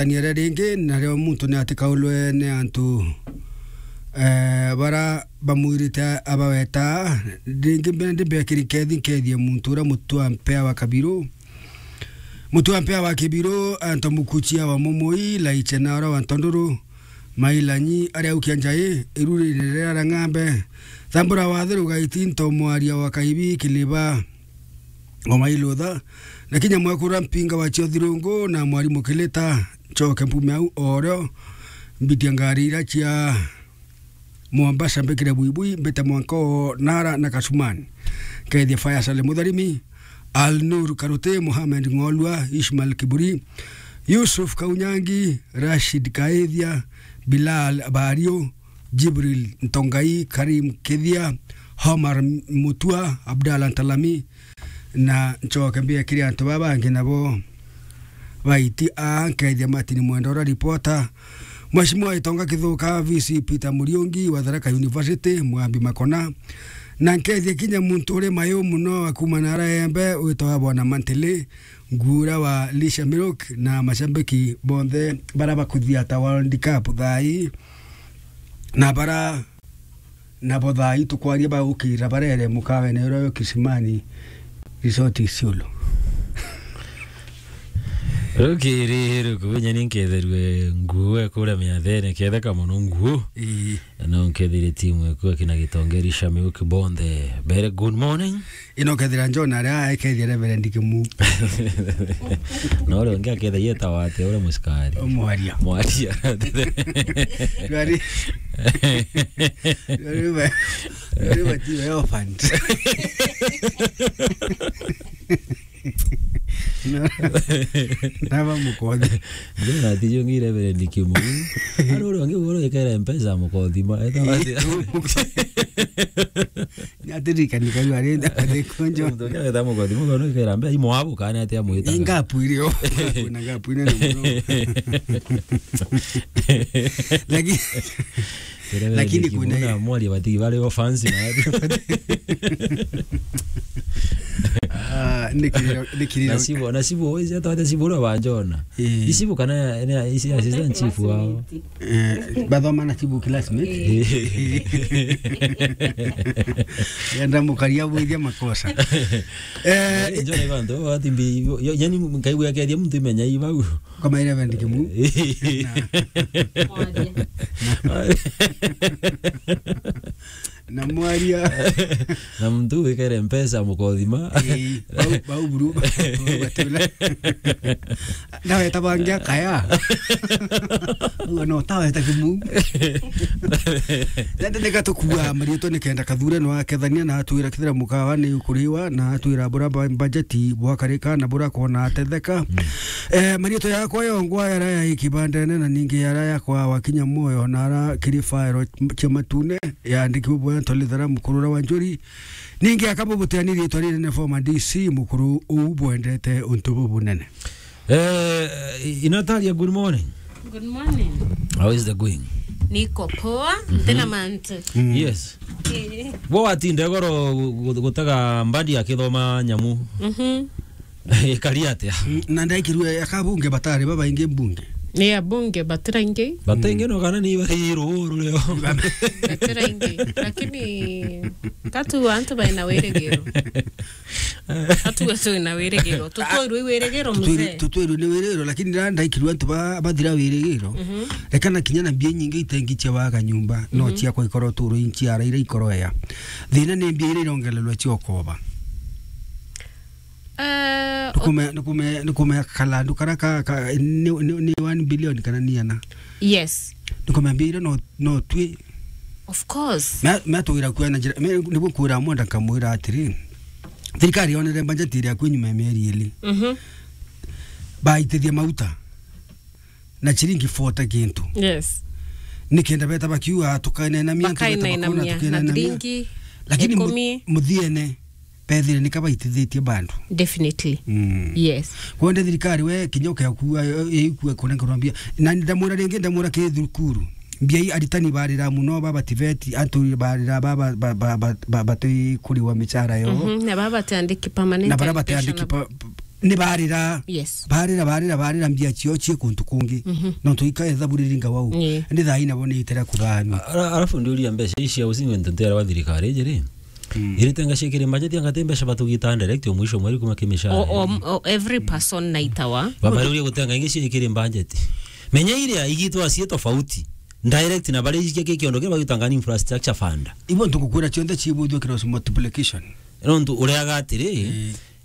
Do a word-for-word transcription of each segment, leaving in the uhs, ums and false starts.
Tania ria ringi, nario muntu ni atikaulwe ni antu, eh, bara bamwirite abaweta. Ringi mbere ndi mbekiri nkethi, nkethie muntu uria mutu wa mpea wa Kabiru. Mutu wa mpea wa Kibiru, anto mukuchia wa Mumui, Laiche na ora wa Ntonduru, Mailanyi, aria ukia njai, irurine ria Rang'ambe. Thambura wa Thiru Gaiti, nto mwaria wa Kaibi, Kiliba, Ngoma Ilutha, na kinya mwekura mpinga wa Chiothirungu na mwarimu Kilita, nchoke mpume au orio, mbitia ngari ira cia Mombasa mbikire buibui, mbite mwanka o Nara na Kasumani. Kethia Faya Sale Mutharimi, Al Nur Karuti, Mohamed Ng'olua, Ishmael Kiburi, Yusuf Kaunyangi, Rashid Kaithia, Bilal Bario, Jibril Ntongai, Karim Kithia, Homar Mutua, Abdallah Ntalami, na nchoke mbia kiri antu baba bangi nabo baiti a nkethia Martin Mwendora reporter, Mheshimiwa Itonga Kithuka, V C Peter Muriungi wa Tharaka University, Mwambi Makona, na nkethia kinya muntu uri mayu muno akuma na ara embe witwa Bwana Mantele, Ngura wa Lisha Milk na mashabiki bonthe bara bakuthia ta World Cup thai. Na bara, nabo thaa ii tukwaria bagukira barere mukawene uria wi Kisimani Resort Isiolo. Rukiri rukubinya ni nketherue nguo ekuria miathene, ketheka muno nguo. Ii. No nkethire timu ekuo kina Gitongeri Shamiuki bonthe. Very good morning. Ino kethira John aria aekethia Reverend Kimu. Na uria ungi akethia yetawa atia uria musikari? Mwaria. Mwaria. Rwari. Rwari ba-, rwari batiwe orphaned. Na, naba mukothi. Jonathan Jongi Reverend Kimu. Ari uria ungi ugoro ikere mpesa mukothi ma. Etawa atia? Ni atirikani karu ari, ari kunjo. Muntu ungi areta mukothi mukono ikera mbe imo abu kana atia amwita. Ni ngapu irio. Kuna ngapu inene muno. Lakini, lakini kuna mwari bati bari o fancy na. Ah, nikiriro, nikiriro. Na sibu, na sibu, wezi hata wate sibu ura wanjona. Eh. Isibu kana, ne, isi assistant chief wao. Eh, bathoma na chibu classmate. Eh. Yenda mukaria bwithia makosa. Eh, njone bantu, watimbi, yo, yani, nkaigua kethia muntu imenya i bau. Kama ile Reverend Kimu. Mwaria. Na mwaria. Na muntu wikere mpesa mukothima. Ii, bau, bau buru, bau batula. Nawe tabangia kaya. Uga no tawe ta Kimu. Nende nika tukua marietwa nikenda kathure no akethania na atwira kithira mukawa ni ukuriwa na atwira bura ba-, bajeti bwakarika na bura kona atetheka. Mm. Eh, marietwa yakwa yongwa yara ya ikibandene na ningi yara yakwa wakinya moyo na ara kiri faero cia matune. Yaandikirwe bwentwa Lithara Mukurura wa Njuri. Ningi akabubuteani riitwa rinene former D C mukuru uu bwendete untu bubunene. Eh, Inataria, good morning. Good morning. How is the going? Niko poa, mhm, ntina mantu. Mm. Yes. Eh. Bo watinde goro gu-, gu-, gutega mbandi akithoma nyamu. Mhm. Ikari atia? Mm, na ndaikirue akabunge batari babaingi mbunge. Ni abunge batiraingi. Bataingi, mm, no kana ni bari ruru rio. Batiraingi. Lakini katu antu baina wirigiro. Katu twina wirigiro. Tutwirwe wirigiro, tutwirwe, mzee. Tutwirwe ni wirigiro, lakini na ndaikirue antu ba, bathira wirigiro. Mhm. Rekana kinya na mbia nyingi itengi cia waga nyumba, no, mhm, ciakwa ikoro turu inchiara ira ikoroea. Thina ni mbia ira irongererwa cia ukoba. Eh, nukume-, nukume-, nukumea kalandu kara ka, ka, ni, ni, ni one billion kana ni ana? Yes. Nukumea mbia iria no, no twi. Of course. Me, me tugira kuona njira, me, niguo kwira mwenda nkamwira atiri, thirikari yonere budget iria kwi nyuma ya mieri iri. Mhm. Baitithia mauta. Na chiringi forty kintu. Yes. Nikenda beta bakiuga, "Tukainenamia, antu beta bakona, tukainenamia na tukainenamia." Thiringi. Lakini mu-, ikumi. Muthiene, bethire nika baitithitie bandu. Definitely. Mm. Yes. Kwende thirikari we kinya ukekua, ikue kuna kurambia. Na ndamwira ringi, ndamwira ki thukuru. Mbia i aritani barira muno, baba tiveti, antu barira, baba, ba, ba, ba, ba, batui kuriwa michara yo. Mhm. Na baba batiandiki permanent education. Na bara batiandiki pa, pa, Ni barira. Yes. Barira, barira, barira mbia cio cie kuntu kungi. Mhm. Nontu ika etha buriri ngawau. Ii. Ndi thaa ina bo ni itera kuthanwa. Ara-, arafu ndiuria mbeca ici cia housing and ntiara wa thirikari iji ri? Mm. Iritenga ciikiri budget anga ti mbeca batugita direct o mwisho mweri kuma kimishara? O, o, o, every person naitawa. Bamariuria gutenga ingi ciikiri budget. Menya iria igitwa cie tofauti. Direct na baria ikia ki kiondo kia bagitanga ni infrastructure fund. Ibo ntukukwira cionthe cibuthio kirosi multiplication. Nontu uria agatiri,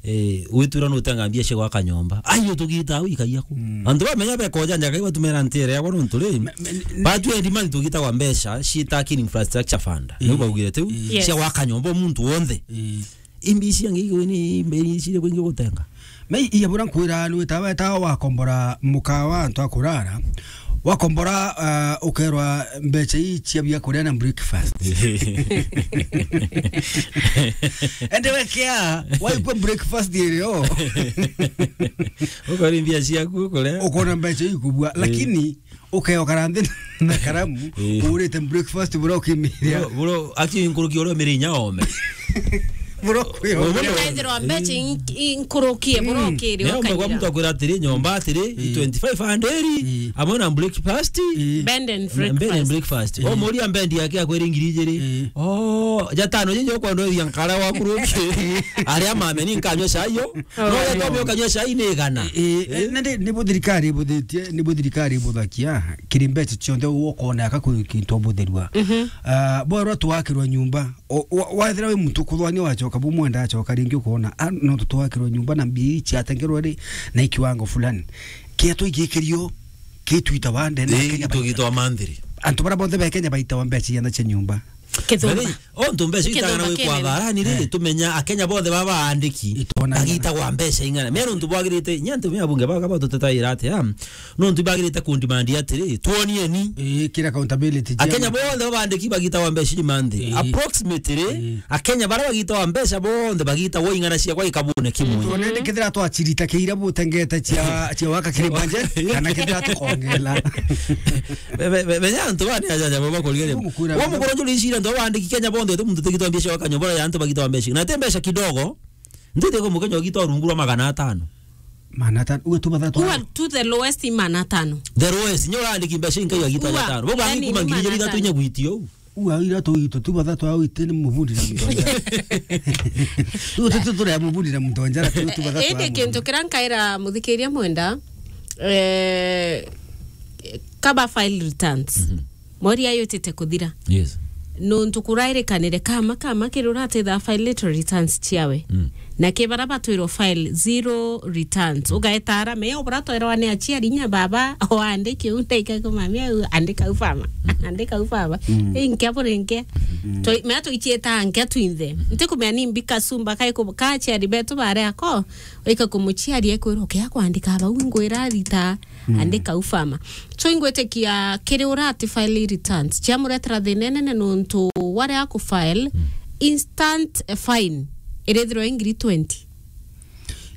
eh, witwira nutanga mbia cia gwaka nyomba. Ai, utugita au ikaia ku. Mm. Antu bamenya bekoja njaga ibatumira ntere yabo nontu ri. Me-, me-, batwire demand tugitagwa mbeca citakini infrastructure fund. Eh. Niu baugire tiu. Eh. Yes. Cia gwaka nyomba muntu wonthe. Eh. Imbi ici angi igwe ni mbe ici iri kwingi gutenga. Me iya bura nkwira ni wita weta wakombora mukawa antu akurara. Wakombora, ah, ukerwa mbeca ii cia bia kuria na breakfast. Ende wekea, waikwa breakfast irio. Ukori mbia ciaku ukuria. Ukona mbeca ikubua, eh, lakini ukeokara nthi na karamu, eh, urite breakfast bura ukimiria. Bro, bro, aki nkuruki uria umiri inya ome. Bura ukio. Bro, bro. Wethirwa mbeca in-, inkurukie, bro, mm, ukiri neo mwe kwa ukanyira. Mtu akwira atiri, nyomba atiri, mm, twenty-five hundred, mm, amwe na breakfast. Mm. Bed and breakfast. Bed and breakfast. Mm. O muria bed yake akwira ngiri ijiri. Mm. Oh, jatano jinyo kwa ndo ya nkara wa kuruki. Aria mame ni nkanywa cai yo. Oh, no, ya tombe ukanywa cai ni igana. Eh, eh, eh, na ndi, ni bo thirikari ibuthitie, ni bo thirikari ibuthakia, kiri mbeca cionthe ukona aka kwi kintu ubutherua. Mhm. Ah, bwerwa twakirwa nyumba, o, wa-, wathira wi muntu kuthwania wacoka bu mwenda acoka ringi ukona, ah, no tutwakirwa nyumba na mbia ii ciatengerwa ri, na ikiwango fulani. Kia twigikirio, kitwita wa ndene, eh, Kenya baita. Tugitwa manthiri. Antu bara bonthe ba Kenya baitawa mbeca ciana cia nyumba. Kithumba. Bari, o ntu mbeca itagana gwikwa tharani ri, eh, tumenya Akenya bonthe baba aandiki. Itwona bagitagwa mbeca ing'ana. Me nontu bwagirite, inya antu me abunge baka batutetaira atia? Nontu bagirite kundimandi atiri, twonieni. Ii, kira accountability. Akenya bonthe baba aandiki bagitagwa mbeca ii manthi. Ii. Approximately, ii, Akenya bara bagitagwa mbeca bonthe bagitagwa ing'ana ciakwa ikabune kimwe. Twonene kethira twachirita kiira butengete cia, cia waka kiri budget, kana kethira tukongela. Be-, be-, be-, menya antu bani ajaja baba kuria ri. Wa mukuru njuri icira antu baandiki Kenya bonthe, tu muntu tigitwa mbeca wa kanyobora ya antu bagitwa mbeca. Na te mbeca kidogo. Ntete ko mukenya ugitwa rungu rwa magana atano. Magana atano. Uwe tu bathatu. Uwe tu the lowest i magana atano. The lowest. Nyo urandiki mbeca inkai agitwa magana atano. Bo bangi yani kuma ni ngiri ithatu inya gwitio. Uwe ira tu itu tu bathatu au ite ni mubundi na mutonja. Tu tu tu tu ya mubundi na mutonja, tu tu bathatu. Indi kintu kira nkaira muthikiria mwenda, eh, kaba file returns. Mhm. Mweri ayutite kuthira. Yes. Nontu kurairikanire kama, kama kiri uratitha file little returns ciawe. Mm. Na ki bara batwirwo file zero returns. Ugaetara, me ubura twerwa ni aciari nya baba, o andiki u, ndaika kumamia u, andika u fama. Andika u fama. Mm. Inkia burinke. Mm. Toi, me tuichieta nkia twinthe. Ntikumenya ni mbika sumba kai ku, ka aciari betu bare ako, ika kumuchiaria ekwirwo kia kwandika bau ngwira rita. Mm. Andika u fama. So ingwitikia kiri ura ati file returns ciamuretera thina inene nontu waria aku file, mm, instant fine irithirwa i ngiri twenty.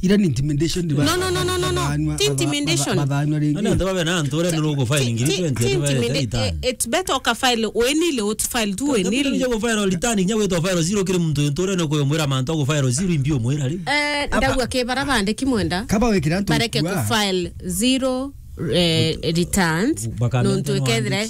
Ira ni intimidation. No, no, no, no, no, no. Ti intimidation. Bathanwa ringi. Ana ndo babe na antu ore no go file ngiri twenty. Ti intimidation. It's better uka file wenile, ut file tu wenile. Ndio go file return, nya wetu file zero kiri muntu ntore no ko mwira mantu go file zero imbio mwira ri. Eh, ndagua ke bara bandiki mwenda. Kaba wikira antu bareke ku file zero, eh, returns, nontu ikethire.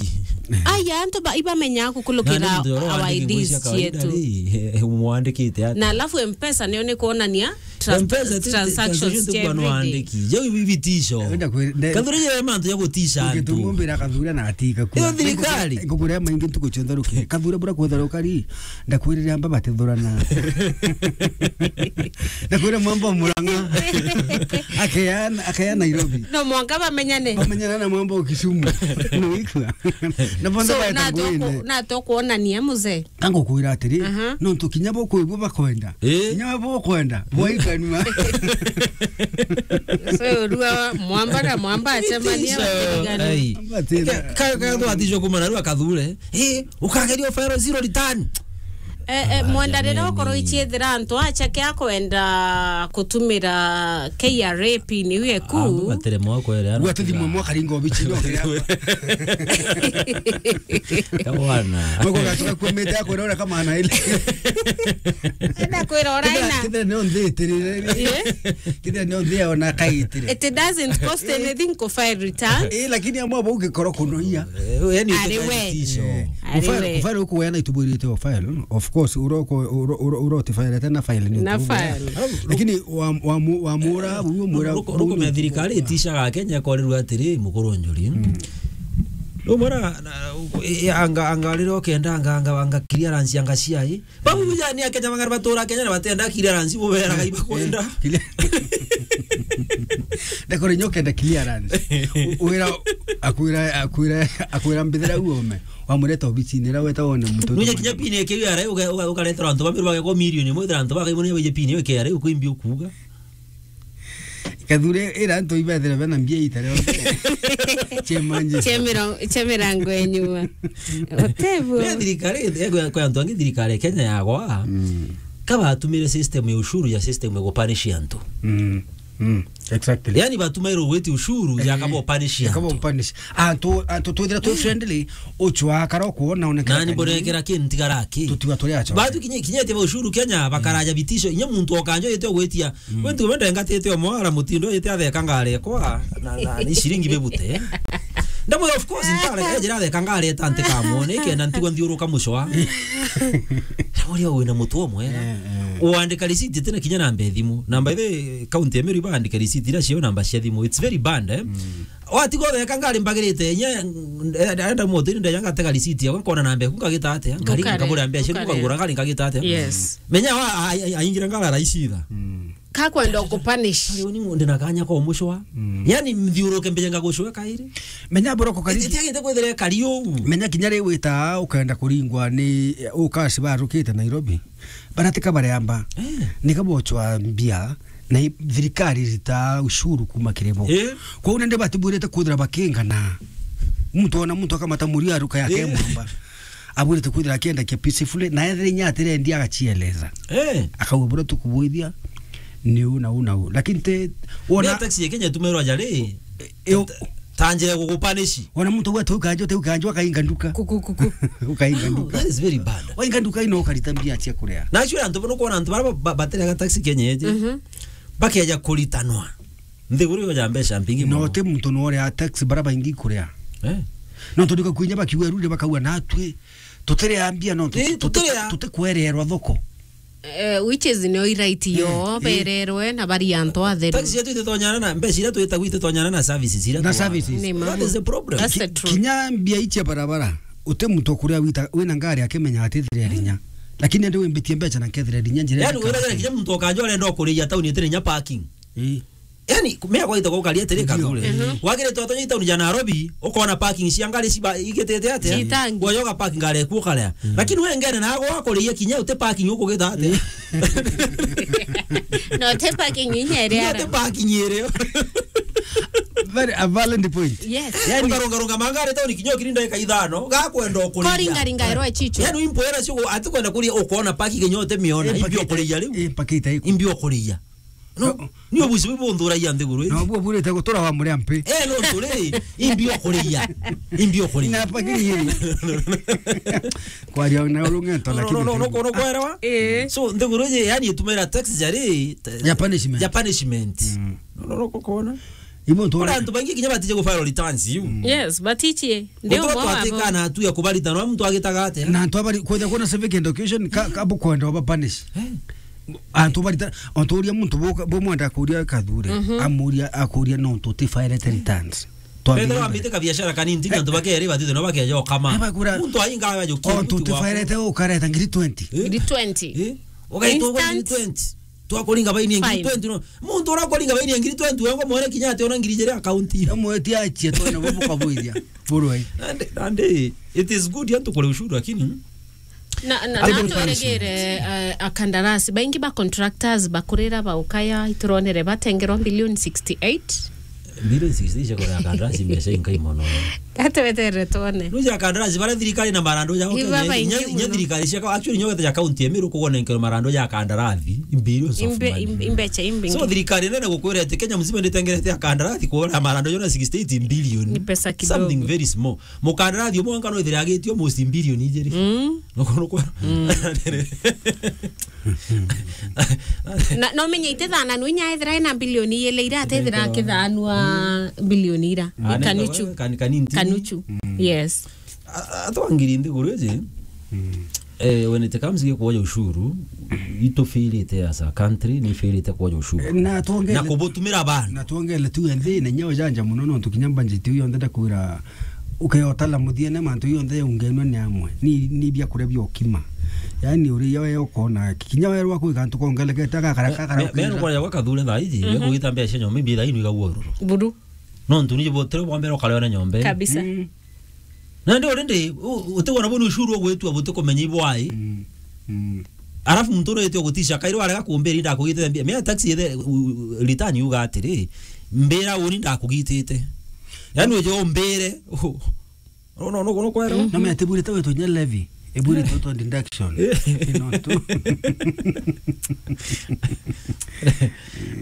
Aya, antu ba, ibamenya kukulukira our I Ds cietu. Mwandikite ati. Na alafu M-Pesa niyo ni kuonania trans-, M-Pesa ti, transactions cia every day. Jau ibi bitisho. Wenda kwiri, ne- Kathura ye mantu ya gutisha antu. Ukitumbira kathura na atika kwa. Iyo thirikari. Ngukure maingi ntuku cionthe ruki. Kathura bura kwetha rukari. Ndakwirire amba batithurana. Ndakwira mwamba Murang'a. Akeana, akeana Nairobi. No mwanka bamenyane. Bamenyana na mwamba Kisumu. No ikwa. Na bonde. So, ba na toko, na tokuonania mzee. Kango kwira atiri, aha, nontu kinya bo kwigua bakwenda. Eh? Kinya bo kwenda, bwaikanua. So, rua mwamba na mwamba acemania. So, batigane. Ai. Batira. Ka, ka, ka, twatijwe kumana rua kathure. Eh, ukageria file zero return. Eh, eh, mwenda riria ukorwo ichiethira antu acha kia kwenda kutumira K R A pin iu eku. Andu batere mwa kwere, andu Gwa tuthimwe mwa karingo obichi no kira. Kawana. Moko gatuka kwemete akwira ura kama ana ile. Enda kwira ura ina. Kithira no nthi itirire. Eh? Kithira no nthi ona kaitire. It doesn't cost anything ku file return. Eh, lakini amwe bau gikoro kunoia. Eh, yani Ari we. Utisho. Eh. Ari Kufile, we. Kufile ukuweana itubwirite o file. Of course, uroko, uro-, uro-, urotifilete na file ni Na ukuweana. File. Lakini wa, wa mu-, wa mura, uyo mura, Ruko, ruko methirikari itishaga Kenya korirwa atiri, mukuru njuri. No mura, na, e, anga, anga riro kenda, anga, anga, anga clearance, anga C I. Babu bujani ya Kenya, mang'ana batura Kenya na batenda clearance, bubera gai bakwenda. Kile. Ndakore nyoka enda clearance. U-, wira akwira, akwira, akwira mbithira uome. Wamureta obicini ira weta wone muntu. Nuje kinya pin ya K R A, uga-, uga-, ugaretera antu bamiru bageko milioni imwe, antu bakaimone baije pin ya K R A, ukwimbi ukuga. Kathure ira antu ibethire bena mbia itare. Chemanje. Chemira-, chemirango enyuma. Otebu. Ni thirikari, eh, kwa, kwa antu angi thirikari ya Kenya yagwa. Mm. Kabatumire system ya ushuru ya system ya kupanish antu. Mm. Mm. Exactly. Yani batumairwo gwiti ushuru ya kabo punish antu. Kabo punish. Antu, antu twithira twi friendly, uchwa karo kuona onekana. Nani borekera ki ntigara ki? Tutiwa turi acho. Batu kinye, kinyete ba ushuru Kenya, bakaraja bitisho. Inye muntu okanjo yete gwitia. Mm. Kwentu wenda ngatete omwara mutindo yete atheka ngare kwa, na, na, ni shilingi bebute. Ndamwe, of course, ntare, ejira atheka ngare tante kamone, kenda ntigwa nthiuruka mucwa. Ndamwe, ria wina mutu omwe. Eh, eh. Uandika receipt tena kinya namba ethimu. Namba ithe county ya Meru ibandika receipt ira cio namba cia thimu. It's very bad, eh? Mm. Watiga utheka ngari mbagirite, nye, eh, enda motini ndeja ngatega receipt yakwa, nkona namba eku ngagita atia? Ngari, Ngukare, ngabura mbeca, ngukare. Ngagura ngari ngagita atia? Yes. Menya wa, a-, a-, aingira ngara raisi itha. Mm. Kakwenda ukupanish. Kari uni ngunde na kanya kwa umucwa. Mm. Yani mthiuruke mbeja ngagucwa kairi. Menya buroko kari. Itiagite kwithira kari uu. Menya kinya ri wita ukaenda kuringwa ni, eh, ukaci barukite Nairobi. Baratika bareamba. Eh. Nika bochwa mbia na i-, thirikari irita ushuru kuma kiri bo. Eh. Kwou nandi batibwirite kwithira bakingana. Muntu ona muntu akamata murio aruka yake Eh. mwamba. Abwirite kwithira akiendakia peacefully, na ethire inya atirendia agachieleza. Eh. Akauga, "Bura tukubwithia, ni u na u na u." Lakini te, wona Mea taxi ya Kenya tumerwa jari. Eh, eh, Ta-, tanjire gugupanishi. Wona muntu gwa teu kanjo, teu kanjo, akainga nduka. Kuku, kuku. Ukainga Oh, nduka. That is very bad. Wainga nduka ino ukarita mbia cia kuria. Na actually, antu bono kwona antu bara ba-, ba-, baterega taxi Kenya eje. Mhm. Bakeja kuritanwa. Nthiguru yo ya mbeca mbingi No mono. Ti muntu no uria taxi bara baingi kuria. Eh. No tondika kwinya bakiuga rure bakauga natwi. Tutiria mbia no tu-, Eh, tuti-, tutiria. Tutikwererwa thoko. Eh, which is no right yo, Eh, eh. Bererwe na bari antu atheru. Taxi yetu ititonyana na mbeca iria twitagwo ititonyana na services iria Na twa- services. Ni ma. That is the problem. That's the Ki-, truth. Kinya mbia icia barabara, uti muntu kuria wita, wina ngari akimenya atithire rinya. Lakini ndi wimbitie mbeca na nkethire rinya njira Yani, ya wira kaunti. Kinya muntu okanja urenda kuria town itire nya parking. Eh. Yani, mea gwaita gukaria atiri Ndio. Kathuri. Mhm. Wagire tu atonya town ya Nairobi, ukona parking cia ngari ciba igitete atia? Citangi. Gwayoga parking ngari eku ukaria. Mm. Lakini we ngene na gwa kuria kinya uti parking ukugita atia? No, te parking inya iri Kinya ara. Uti parking iri. Very a valid point. Yes. Yani, ukarunga runga mangari town kinya ukiri ndagika ithano, gakwenda ukuria. Kori ngari ngairwa chicho. Yani, impoera cio ati kwenda kuria ukona parking kinya uti miona, Eh, imbi pakita, ukuria riu. Eh, pakita iko. Imbi ukuria. No, ni obusi bubunthuragia nthiguru iji. Na obuo burite gutura wa muria mpi. Eh, no turi, imbi okuria. Imbi okuria. Na pakiri iri. Kwaria na urungento, no, lakini no, no, no, no, no, kwerewa? Eh. So, nthiguru iji, yani, itumira tax jari, ta-, Ya punishment. Ya punishment. Mm. No, no, no, kona. Ibo ntu Kora antu baingi kinya batije ku file returns, you. Mm. Yes, batichie. Ndio Gutura mwa twateka abo. Na atu ya kubarita, no muntu agitaga atia? Na antu abari, kwenda kuona civic education, ka, ka bukwenda oba punish. Eh. Antu barita, onturia muntu bo, bo mwenda kuria Kathure, Mhm. amuria, akuria no ntu tifairete returns. Twambire Bethera mbere. Wambite ka biashara kanini, tinga antu bakere, batite no bakeja okama. Ebagura Muntu ainga ayo ontu kimuti waku. Tifairete ukareta ngiri twenty. Eh? Ngiri twenty. Eh? Ugaitwa ngiri Instant. Twenty. Twakuringa baini ngiri Fine. Twenty no. Muntu urakuringa baini ngiri twenty, wengo mwere kinya ati ona ngiri jere account. Amwe ti achie twena bo mukabwithia. Burwai. Ande, ande, it is good antu kure ushuru, lakini Na, na, Ati na buri turegere, eh, akandarasi. Baingi ba contractors bakurira baukaya, ituronere batengerwa billion sixty-eight. Billion sixty cia kugura kandarasi mbeca inkai mono. Ate wetere tuone. Nuja kandarasi bara thirikari na marandu ja Iba Kenya, baingi inya, inya muno. Thirikari cia, actually, nyoka ya county ya Meru kugona nkero marandu ja kandarasi, billions of Imbe-, money. Im-, imbecha imbingi. So, thirikari nene gukwira ati Kenya mzima nditengerete ya kandarasi kugura marandu jona sixty-eight billion. Ni pesa kidogo. Something very small. Mukandarathi umwe wonka no ithire agitio almost billion ijiri. Mm. Nuko, nuko. Mm. Na, no menye itithananu inya ethira ena billion ijiri ira atethira akithanua billion ira. Ah, Kanuchu. Kan-, kanini. Kanuchu. Mm. Yes. A-, a-, atwa ngiri nthiguru iji. Mm. Eh, when it comes to kuoya ushuru, itufirite as a country, ni firite kuoya ushuru. Eh, na tuonge-, na kubutumira bandu. Na tuongele tu ende, na nyao janja muno, no tukinya budget iu yonthe ndakwira, ukeyotala muthia na mantu yonthe yaungenwa ni amwe. Ni, ni bia kuria bia ukima. Yani, uri yo yo kona, kinya werwa kwi kantu kongelekete, gakara, gakara, me, me, gakara. Nukwona yakwa Kathure thaa iji, mhm, we kugita mbeca nyomba, imbi thaa inu igagua ururu. Buru. No ntu ni botero bwa mbere ukaleona nyomba. Kabisa. Mm. Na ndio already, u-, utigwa na bunu ushuru ugwitua butikumenya ibwai. Mm. Mm. Alafu muntu urite ugutisha kairi warega kumbira ndakugitite mbia. Mea taxi ethe, u-, u-, return yuga atiri, mbira uni ndakugitite. Yani uje umbire. No, no, no, no, kwero. Mhm. No, me atiburite wetu nya levy. Eburite wetu deduction. No, tu.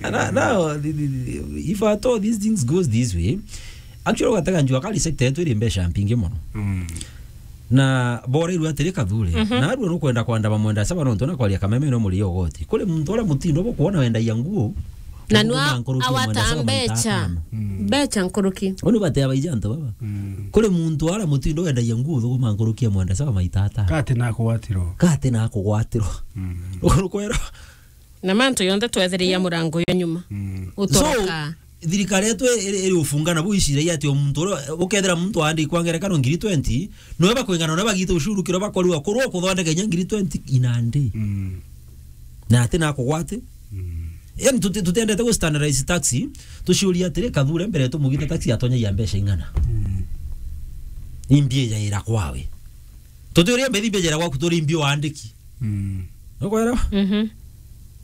And I, now, the, the, the, if at all these things goes this way, actually, ugatega njua kari sector yetu iri mbeca mpingi muno. Mm. Na bora iru atiri Kathure. Mhm. Na arua nukwenda kwandama mwenda saba nontu na kwaria kameme no muri ogoti. Kuri muntu ara mutindo bo kuona wendagia nguo. Na nua thuguma nkuruki ya mwenda awata saba maita mbecha. Atano. Mm. Mbecha nkuruki. Uni batea baija antu baba. Mm. Kuri muntu ara mutindo wendagia nguo thuguma nkuruki ya mwenda saba maita atano. Kati na kugwatirwo. Kati na kugwatirwo. Mm. Ukwero. Na mantu yonthe twethereia murango yo nyuma. Mm. Utoroka. So, thirikari yetu iri, iri ufungana bu iciragia ati o muntu uria, ukethira muntu aandikwa ngerekano ngiri twenty, noe bakwingana na bagite ushuru kiro bakorwa kurwa kuthondeka inya ngiri twenty in a day. Mm. Na ati na kugwate. Mm. Yani tuti-, tutendete gu standardize taxi, tuciuria atiri, Kathure mbere tumugite taxi atonyagia mbeca ing'ana. Mm. Imbi ijaira kwawe. Tutiuria mbethi imbi ijaira gwaku turi imbi waandiki. Mm. Nukwelewa? Mhm.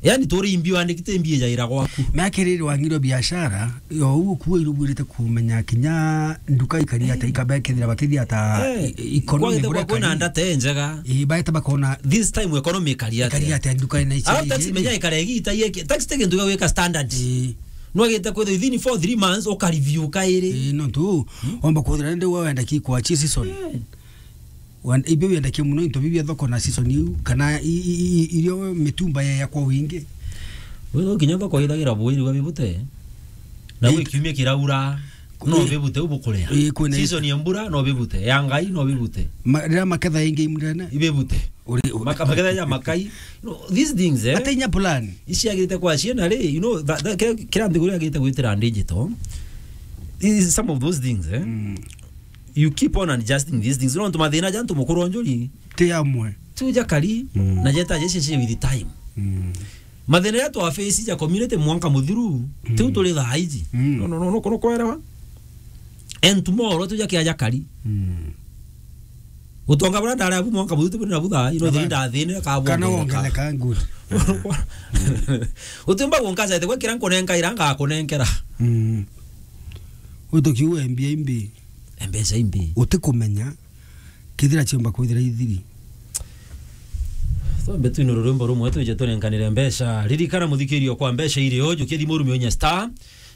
Yani turi imbi waandiki ti imbi ijaira gwaku. Na kiriri wangirwo biashara, yo uguo kuo iruburite kumenya kinya nduka ikari ata, eh, ikabekethira bakithia ata, eh, i-, economy kwagite bure kwa kwina kari. Ndata njega. Eh, baeta bakona this time economy ikari ata. Ikari ata nduka ina ici. Alafu taxi menya ikare igita yeke. Taxi ti kintu gia gwika standard. Eh. Nwagite kwithira within four, three months ukareview kairi. Eh, no tu, hmm? Wamba kuthira ndi wenda ki kwa chi season. Eh. Wan-, ibio biendakia muno into bibia thoko na season iu, kana i-, i-, i-, irio mitumba yeya kwa wingi. Wewe kinya thoko ithagira bwiri wa bibute. Na eh, gwi kiumia kiraura, no bibute ubukuria. Eh, kwina season ya mbura, no bibute. Ya ngai, no bibute. Ma-, riria maketha ingi imurene. Ibibute. Uri, u- Maka-, maketha ya makai. No, these things, eh? Ate inya plan. Iciagirite kwa ciana ri, you know, that, that, kira, kira nthiguru yagirite gwitira digital. These, some of those things, eh? Mm. You keep on adjusting these things. Nontu mathina ja antu mukuru onjuri ti amwe. Tu jakari, mm, na jeta jeshi shi with time. Mm. Mathina ja twa face ja community mwanka muthiru, mm, tiu turi thaa iji. Mm. No, no, no, no, no, kwelewa. And tomorrow tu jakia jakari. Mm. Utonga bura ndare abu mwanka muthiru tiburi na butha, ino thiri ndathine ka kana bongereka. Wongereka, good. Utimba gunkaza ite gwekira nkunenka iranga kunenkera. Mm. Utukiu embia imbi. Mbeca imbi. Utikumenya kethira ciomba kwithira ithiri. Twambe twine rurwimbo rumwe twije tunenkanire mbeca. Ririkana muthikirio kwa mbeca iri o, jukia thimu urumie inya star,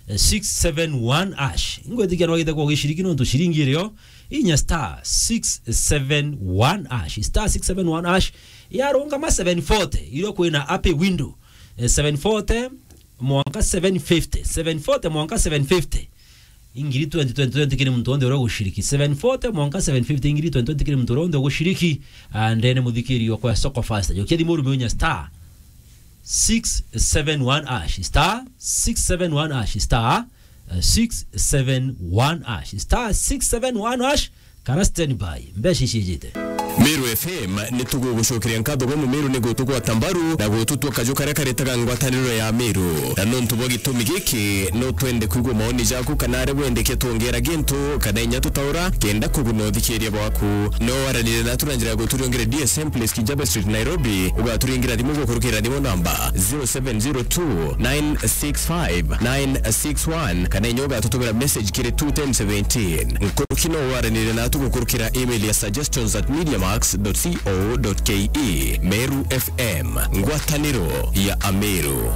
eh, six seven one hash. Ingwitikia nwagite kwa ugiciriki nontu ciringi iri o, inya star six seven one hash. Star six seven one hash. Yarungama seven forty, irio kwina happy window. Eh, seven forty mwanka seven fifty. Seven forty mwanka seven fifty. Ingiri twenty, twenty, twenty kiri muntu wonthe uria uguciriki. Seven forty mwanka seven fifty, ingiri twenty, twenty kiri muntu uria wonthe uguciriki. Ah, ndene muthikiri okwa Soko Fast. Jokia thimu urumie inya star six seven one hash. Star six seven one hash. Star, eh, six seven one hash. Star six seven one hash. Kara standby. Mbeca iciijite. Meru F M ni tugugucokeria nkatho gwe Mumeru ni gutugwata mbaru na gututua kaju karia karetaga ngwataniro ya Meru. Na nontu bwa gitumi giki, no twende kwigua maoni jaku kana aria wendeke twongera gintu kana inya tutaura kenda kuguna uthikiria bwaku. No waranire natu na njira ya guturiongere D S M Place, Kijabe Street, Nairobi. Ugaturingira thimu gukurukira thimu namba zero seven zero two nine six five nine six one, kana inya ugatutumira message kiri two ten seventeen. Nkuruki no waranire natu gukurukira email ya suggestions at mediamax dot co dot ke. Meru F M, ngwataniro ya Ameru.